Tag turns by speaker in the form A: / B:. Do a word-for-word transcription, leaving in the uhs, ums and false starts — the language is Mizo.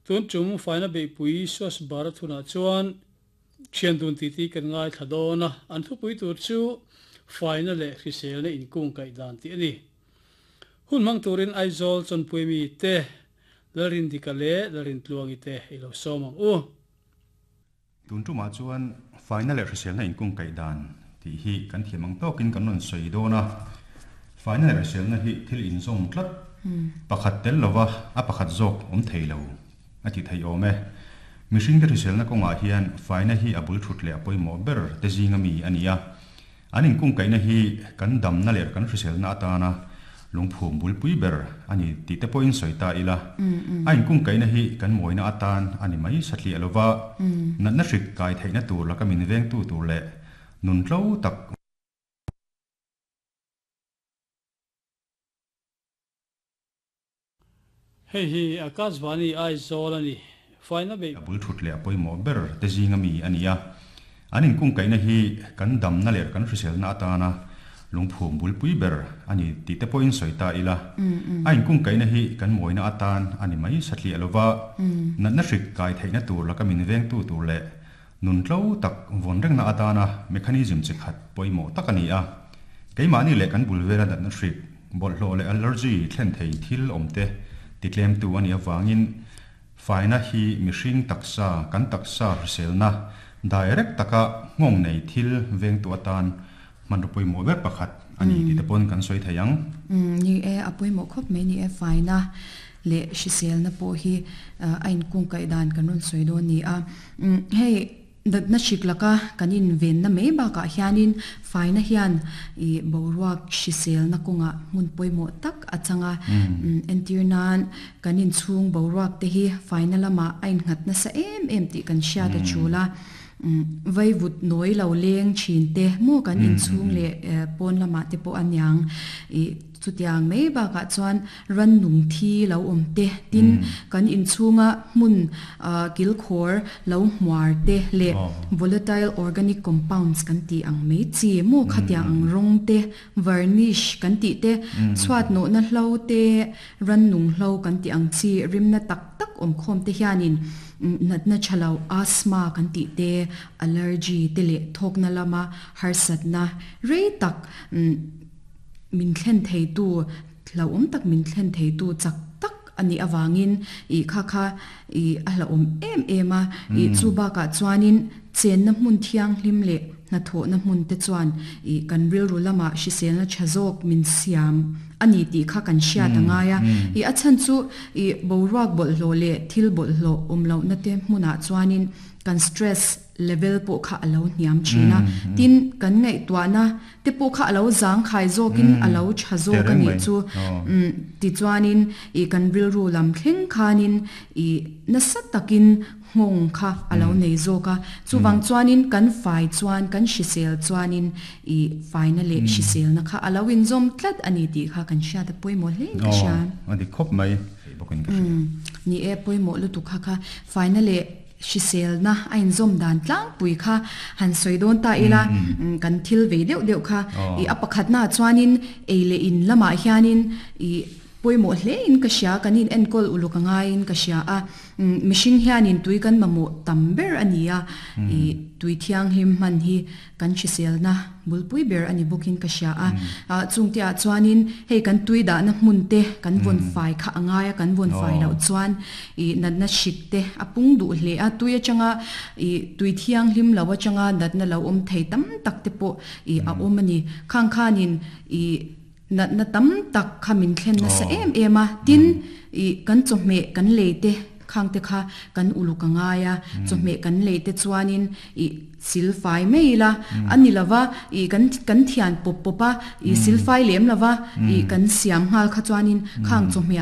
A: Tun tum faina beihpui Swachh Bharat hunah chuan thian dun titi kan ngaithla dawn a, an thupui tur chu faina leh hriselna inkung kaih dan tih a ni. Hun hmang turin Aizawl chawnpui mi te Lalrindika leh Lalrintluangi te i lo sawm ang u.
B: Tun tumah chuan faina leh hriselna inkung kaih dan tih hi kan thiam ang tawkin kan rawn sawi dawn a. Faina leh hriselna hi thil inzawm tlat, pakhat tel lova a pakhat zawk awm thei lo a ti thei awm e. Mihringte hriselna kawngah hian faina hi a bul thut leh a pawimawh ber te zinga mi a ni a. An inkung kaihna hi kan damna leh kan hriselna atana lungphum bulpui ber a ni tih te pawhin sawi ta ila. A inkung kaihna hi kan mawina atan a ni mai satliah lova, natna hrik kai theihna tur laka min vengtu tur leh nun tlo tak
A: Hei hi Akashvani Aizawl a ni. Faina beih.
B: A bul thut leh a pawimawh ber te zinga mi a ni a. An inkung kaihna hi kan damna leh kan hriselna atana lungphum bulpui ber a ni tih te pawhin sawi ta ila. A inkung kaihna hi kan mawina atan a ni mai satliah lova, natna hrik kai theihna tur laka min vengtu tur leh nun tlo tak vawn rengna atana mechanism chi khat pawimawh tak a ni a. Keimahni leh kan bul vela natna hrik, bawlhhlawh leh allergy thlen thei thil awm te titlemtu a nih avangin faina hi mihring taksa, kan taksa hriselna direct taka nghawng nei thil vengtu atan hmanraw pawimawh ber pakhat a ni tih te pawn kan sawi thei ang.
C: Ni e, a pawimawh khawp mai ni e, faina leh hriselna pawh hi a inkungkaih dan kan rawn sawi dawn ni a. Hei natna hrik laka kan invenna mai bakah hianin faina hian ih boruak hriselna kawngah hmun pawimawh tak a chang a. Entir nan kan inchhung boruak te hi faina lamah a innghat nasa em em tih kan hriat a tul a. Vaivut nawi lo leng thin te maw kan inchhung leh pawn lamah te pawh a niang ih chutiang mai bakah chuan rannung thi lo awm te tin kan inchhunga hmun kilkhawr lo hmuar te leh volatile organic compounds kan tih ang mai chi maw khatiang ang rawng te varnish kan tih te chhuat nawhna hlo te rannung hlo kan tih ang chi rimna tak tak awm khawm te hianin natna tha lo asthma kan tih te allergy te leh thawkna lama harsatna rei tak min thlen theitu hlauhawm tak min thlen theitu chak tak a nih avangin ih kha kha ih a hlauhawm em em a. Ih chu bakah chuanin chenna hmun thianghlim leh hnathawhna hmun te chuan ih kan rilru lamah hriselna tha zawk min siam a ni tih kha kan hriat a ngai a. Ih a chhan chu ih boruak bawlhhlawh leh thil bawlhhlawh awm lohna te hmunah chuanin kan stress level pawh kha a lo hniam thin a. Tin, kan ngaihtuahna te pawh kha a lo zangkhai zawkin a lo tha zawk a nih chu. Tichuanin ih kan rilru lam thleng khanin ih nasa takin nghawng kha a lo nei zawk a. Chuvang chuanin kan fai chuan, kan hrisel chuanin ih faina leh hriselna kha a lo inzawm tlat a ni tih kha kan hriat a pawimawh hle in ka hria.
B: Aw, a dik khawp mai bawkin ka hria.
C: Ni e, pawimawh lutuk kha kha faina leh hriselna a inzawm dan tlangpui kha han sawi dawn ta ila, kan thil vei deuh deuh kha ih a pakhatnaah chuanin ei leh in lamah hianin ih pawimawh hle in ka hria, kan in enkawl uluk a ngaiin ka hria a. Mihring hianin tui kan mamawh tam ber a ni a, ih tui thianghlim hman hi kan hriselna bulpui ber a ni bawkin ka hria a. Chungte ah chuanin hei kan tui dahna hmun te kan vawn fai kha a ngai a, kan vawn fai loh chuan ih natna hrik te a pung duh hle a, tui atanga ih tui thianghlim lo atanga natna lo awm thei tam tak te pawh ih a awm a ni. Khang khanin ih natna tam tak kha min thlen nasa em em a, tin ih kan chawhmeh kan lei te khang te kha kan uluk a ngai a, chawhmeh kan lei te chuanin ih silfai mai ila a ni lova, ih kan kan thian pawp pawp a, ih silfai lem lova ih kan siam nghal kha chuanin khang chawhmeh